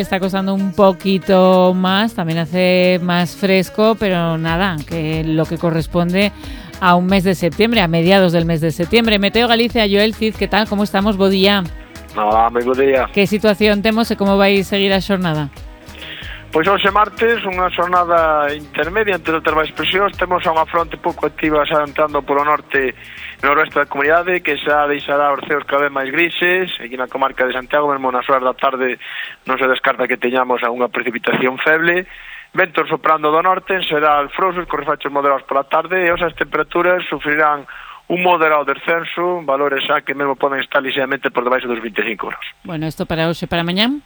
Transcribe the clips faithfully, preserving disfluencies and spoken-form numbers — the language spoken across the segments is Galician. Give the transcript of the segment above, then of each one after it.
Está costando un poquito más, también hace más fresco, pero nada, que lo que corresponde a un mes de septiembre, a mediados del mes de septiembre. Meteo Galicia, Joel Cid, ¿qué tal? ¿Cómo estamos? Bo día. Hola, moi bo día. Que situación temos e como vai seguir a xornada? Pois hoxe martes, unha xornada intermedia entre outras máis presións. Temos unha fronte pouco activa xa entrando polo norte e noroeste da comunidade, que xa deixará os ceos cada vez máis grises. Aquí na comarca de Santiago, mesmo nas horas da tarde, non se descarta que teñamos algunha precipitación feble. Ventos soprando do norte, será alfrosos, con refachos moderados pola tarde, e as temperaturas sufrirán un moderado descenso, valores xa que mesmo poden estar ligeiramente por debaixo dos vinte e cinco graus. Bueno, isto para hoxe, para mañán?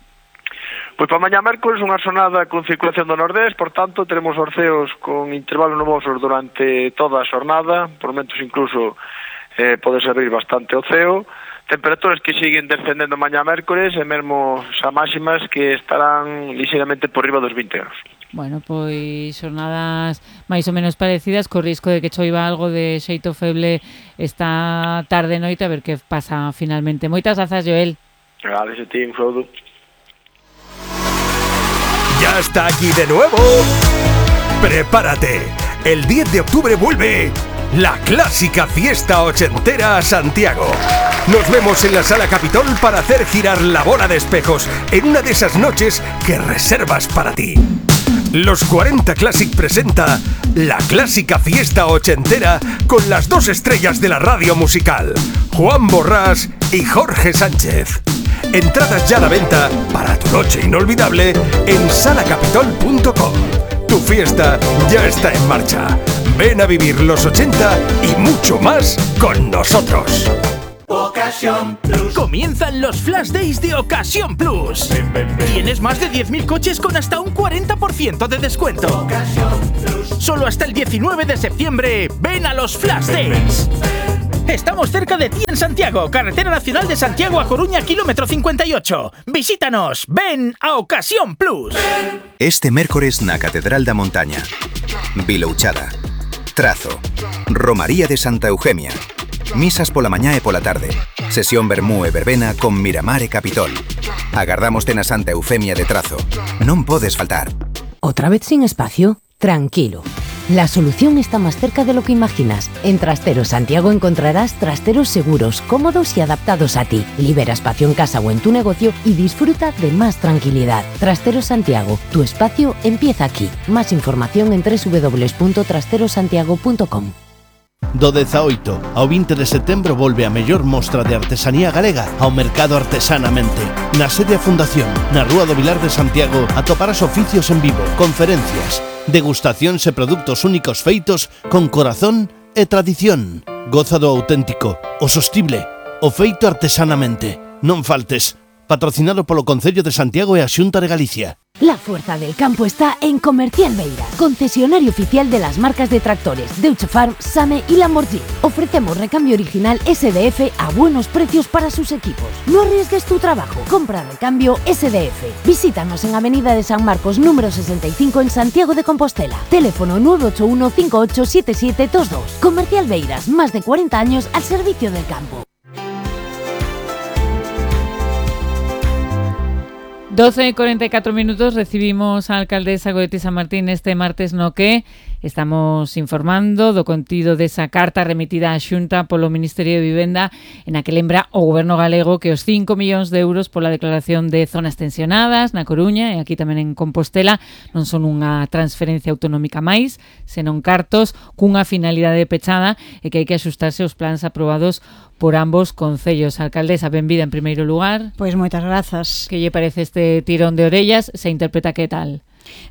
Pois para mañá mércoles unha xornada con circulación do nordés, por tanto, teremos os ceos con intervalos nubosos durante toda a xornada, por momentos incluso eh, pode servir bastante o ceo. Temperaturas que siguen descendendo mañá mércoles e mesmo xa máximas que estarán ligeiramente por riba dos vinte graus. Bueno, pois xornadas máis ou menos parecidas, co risco de que choiva algo de xeito feble esta tarde e noite, a ver que pasa finalmente. Moitas grazas, Joel. Gracias a ti, un saúdo. ¡Ya está aquí de nuevo! ¡Prepárate! El diez de octubre vuelve la clásica fiesta ochentera a Santiago. Nos vemos en la Sala Capitol para hacer girar la bola de espejos en una de esas noches que reservas para ti. Los cuarenta Classic presenta la clásica fiesta ochentera con las dos estrellas de la radio musical, Juan Borrás y Jorge Sánchez. Entradas ya a la venta para tu noche inolvidable en sala capitol punto com. Tu fiesta ya está en marcha. Ven a vivir los ochenta y mucho más con nosotros. Ocasión Plus. Comienzan los Flash Days de Ocasión Plus. Ven, ven, ven. Tienes más de diez mil coches con hasta un cuarenta por ciento de descuento. Ocasión Plus. Solo hasta el diecinueve de septiembre. Ven a los Flash ven, Days. Ven, ven. Estamos cerca de ti en Santiago, Carretera Nacional de Santiago a Coruña, kilómetro cincuenta y ocho. Visítanos. Ven a Ocasión Plus. Este mércores na Catedral da Montaña. Vilouchada. Trazo. Romaría de Santa Eugemia. Misas pola mañá e pola tarde. Sesión vermú e verbena con Miramar e Capitol. Agardámoste na Santa Eufemia de Trazo. Non podes faltar. ¿Otra vez sin espacio? Tranquilo. La solución está más cerca de lo que imaginas. En Trasteros Santiago encontrarás trasteros seguros, cómodos y adaptados a ti. Libera espacio en casa o en tu negocio y disfruta de más tranquilidad. Trasteros Santiago, tu espacio empieza aquí. Más información en doble u doble u doble u punto trasteros santiago punto com. Do dezaoito ao vinte de setembro volve a mellor mostra de artesanía galega ao Mercado Artesanamente. Na sede a Fundación, na Rúa do Vilar de Santiago, atoparás oficios en vivo, conferencias, degustacións e produtos únicos feitos con corazón e tradición. Goza do auténtico, o sostible, o feito artesanamente. Non faltes. Patrocinado polo Concello de Santiago e a Xunta de Galicia. La fuerza del campo está en Comercial Beiras, concesionario oficial de las marcas de tractores Deutsche Farm, Same y Lamborghini. Ofrecemos recambio original S D F a buenos precios para sus equipos. No arriesgues tu trabajo, compra recambio S D F. Visítanos en Avenida de San Marcos número sesenta y cinco en Santiago de Compostela. Teléfono nueve ocho uno cinco ocho siete siete dos dos. Comercial Beiras, más de cuarenta años al servicio del campo. doce y cuarenta y cuatro minutos, recibimos a alcaldesa Goretti San Martín este martes no que estamos informando do contido desa carta remitida á Xunta polo Ministerio de Vivenda en a que lembra o Goberno galego que os cinco millóns de euros pola declaración de zonas tensionadas na Coruña e aquí tamén en Compostela non son unha transferencia autonómica máis, senón cartos cunha finalidade pechada e que hai que axustarse aos plans aprobados por ambos concellos. Alcaldesa, benvida en primeiro lugar. Pois moitas grazas. Que lle parece este tirón de orellas? Se interpreta que tal?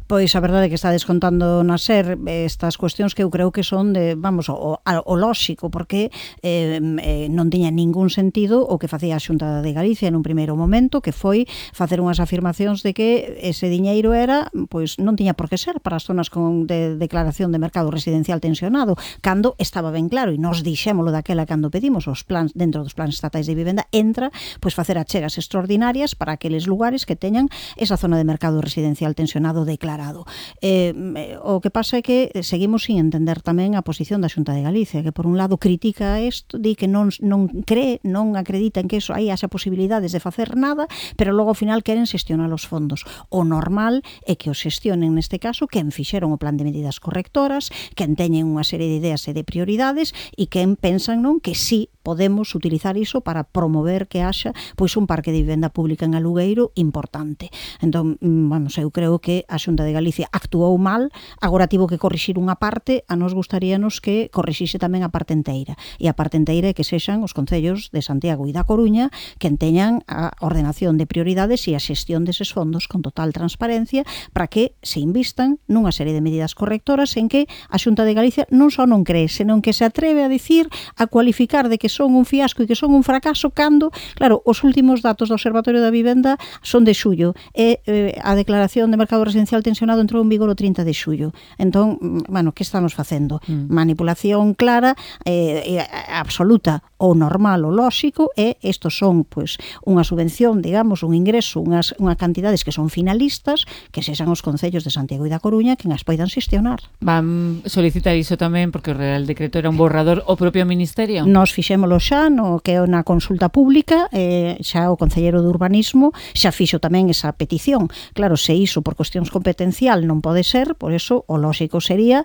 Pois a verdade é que está descontando na SER estas cuestións que eu creo que son de, vamos, o, o lóxico, porque eh, eh, non tiña ningún sentido o que facía a Xunta de Galicia nun primeiro momento, que foi facer unhas afirmacións de que ese diñeiro era, pois non tiña por que ser para as zonas con de declaración de mercado residencial tensionado, cando estaba ben claro, e nos dixémolo daquela cando pedimos os plans, dentro dos plans estatais de vivenda, entra, pois facer achegas extraordinarias para aqueles lugares que teñan esa zona de mercado residencial tensionado mercado declarado. Eh, o que pasa é que seguimos sin entender tamén a posición da Xunta de Galicia, que por un lado critica isto, di que non, non cree, non acredita en que eso aí haxa posibilidades de facer nada, pero logo ao final queren xestionar os fondos. O normal é que os xestionen neste caso quen fixeron o plan de medidas correctoras, quen teñen unha serie de ideas e de prioridades e quen pensan non que sí podemos utilizar iso para promover que haxa pois un parque de vivenda pública en alugueiro importante. Entón, vamos, eu creo que a Xunta de Galicia actuou mal, agora tivo que corrixir unha parte, a nos gustaríanos que corrixixe tamén a parte enteira. E a parte enteira é que sexan os concellos de Santiago e da Coruña quen teñan a ordenación de prioridades e a xestión deses fondos con total transparencia para que se invistan nunha serie de medidas correctoras en que a Xunta de Galicia non só non cree, senón que se atreve a dicir, a cualificar de que son un fiasco e que son un fracaso cando, claro, os últimos datos do Observatorio da Vivenda son de xullo e eh, a declaración de mercado residencial tensionado entrou en vigor o trinta de xullo. Entón, bueno, que estamos facendo? Mm. Manipulación clara, eh, absoluta, ou normal ou lóxico, e estos son, pois, unha subvención, digamos, un ingreso, unhas, unhas cantidades que son finalistas, que sexan os concellos de Santiago e da Coruña que as poidan xestionar. Van solicitar iso tamén porque o Real Decreto era un borrador o propio Ministerio? Nos fixemos xa no que é na consulta pública, eh, xa o Concelleiro de Urbanismo xa fixo tamén esa petición. Claro, se iso por cuestións competencial non pode ser, por eso o lóxico sería,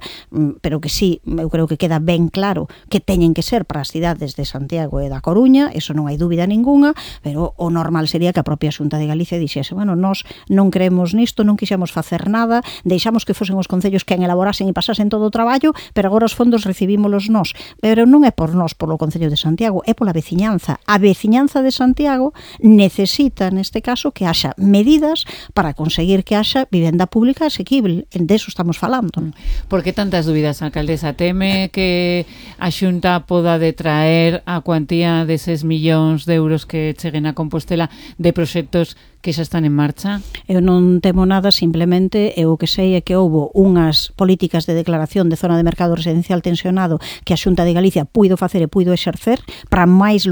pero que sí, eu creo que queda ben claro que teñen que ser para as cidades de Santiago e da Coruña, eso non hai dúbida ningunha, pero o normal sería que a propia Xunta de Galicia dixese, bueno, nós non creemos nisto, non quixemos facer nada, deixamos que fosen os concellos quen elaborasen e pasasen todo o traballo, pero agora os fondos recibímolos nós. Pero non é por nós, polo Concello de Santiago, é pola veciñanza. A veciñanza de Santiago necesita, neste caso, que haxa medidas para conseguir que haxa vivenda pública asequible. De eso estamos falando. Por que tantas dúbidas, alcaldesa? Teme que a Xunta poda detraer a cuantía deses millóns de euros que cheguen a Compostela de proxectos que xa están en marcha? Eu non temo nada, simplemente eu que sei é que houbo unhas políticas de declaración de zona de mercado residencial tensionado que a Xunta de Galicia puido facer e puido exercer para máis lugares